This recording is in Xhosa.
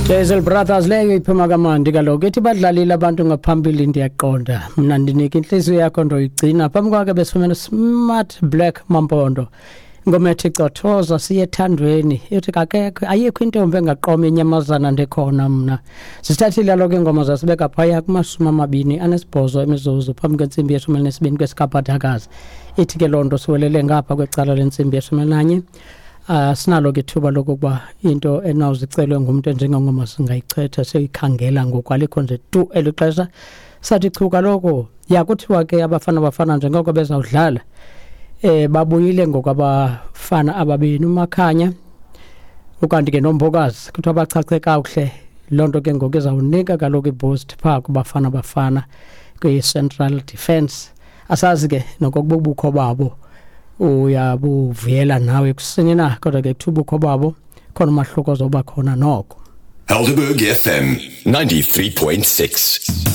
Jazel Brothers leyo iphuma kamandi kaloku ithi badlalile abantu ngaphambili ndiyaqonda mna ndinika intliziyo yakho ndoyigcina phambi kwakhe besifumene Smart Black Mampondo ingoma ethi cothoza siye ethandweni ithi kakekho ayikho intombi engaqoma inyamazana ndikhona mna sisithathile kaloku iingoma zasibeka phaya kumashumi amabini anesibhozo emizuzu phambi kwentsimbi yeshumi elinesibini kwesikabhathakazi ithi ke loo nto siwelele ngapha kwecala lentsimbi yeshumi elinanye. Sinalo ke ithuba lokokuba into enawuzicelwe ngumntu enjengengoma singayichetha siyikhangela ngoku alikho nje tu eli xesha. Sathi chu kaloku yakuthiwa ke abafana bafana njengoko bezawudlala babuyile ngoku abafana ababini uMakhanya ukanti ke noMbokazi kuthiwa bachache kakuhle. Loo nto ke ngoku izawunika kaloku iboost phaa kubafana bafana kwi-central defence. Asazi ke nokokuba ubukho babo uyabuvuyela nawe kusini na, kodwa ke kuthiwa ubukho babo khona umahluko ozoba khona noko. Helderberg FM 93.6.